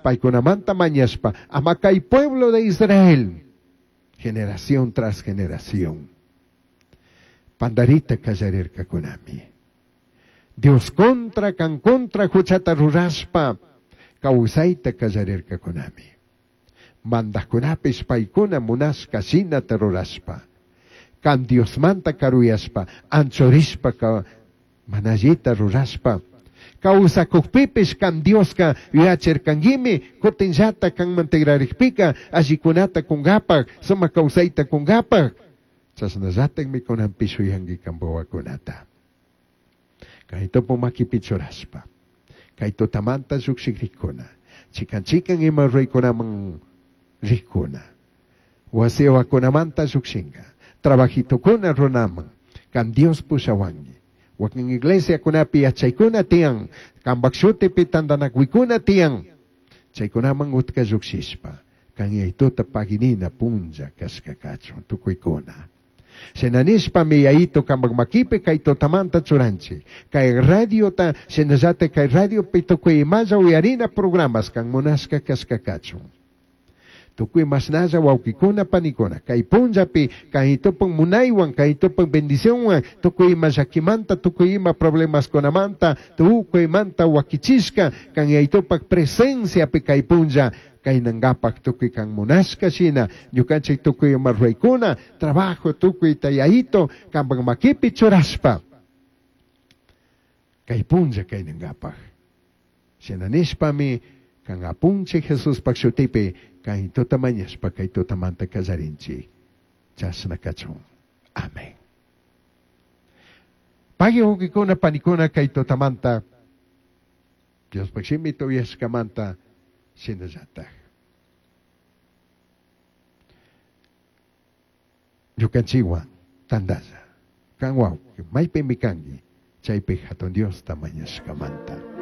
Paicunamanta mañashpa, ama cai pueblo de Israel, generación tras generación, pandarita callarircacunami. Dios contra, can contra juchata rurashpa, causaita callarircacunami. Mandajcunapish paicuna munashca shinata rurashpa, can Diosmanta caruyashpa, anchurishpa, mana allita rurashpa, causacujpipish can Diosca yuyachircanguimi, cutinllata canman tigrarijpica allicunata cungapaj, sumaj causaita cungapaj, chashnallatajmi cunanpish yuyangui can huahuacunata. Cai tupu maquipi churashpa, cai tutamanta llujshijrijcuna, chican chican ima ruraicunaman rijcuna, huasihuacunamanta llujshinga, trabajitocuna runaman, can Dios pushahuangui. Huaquin iglesiacunapi yachaicuna tiyan, cambaj shutipi tandanacuicuna tiyan, chaicunaman utca llujshishpa, can Yaituta paguinina punlla cashca cachun tucuicuna. Shina nishpami Yaito cambaj maquipi cai tutamanta churanchij. Cai radiota, shinallataj cai radiopi tucui imalla uyarina programas can munashca cashca cachun. Tucui mashnalla huauquicuna, panicuna, cai punllapi Yaitopaj munaihuan, Yaitopaj bendicionhuan, tucui ima llaquimanta, tucui ima problemascunamanta, tucuimanta huaquichishca, can Yaitopaj presenciapi cai punlla, cainangapaj tucui can munashca shina, ñucanchij tucui ima ruraicuna, trabajo tucuita Yaito, cambaj maquipi churashpa, cai punlla cainangapaj. Shina nishpami, can Apunchij Jesuspaj shutipi, cai tuta mañashpa, cai tutamanta callarinchij. Chashna cachun. Amén. Pagui huauquicuna, panicuna, cai tutamanta, Diospaj shimita uyashcamanta shinallataj. Ñucanchijhuan tandalla. Can huauqui, maipimi cangui, chaipi Jatun Diosta mañashcamanta.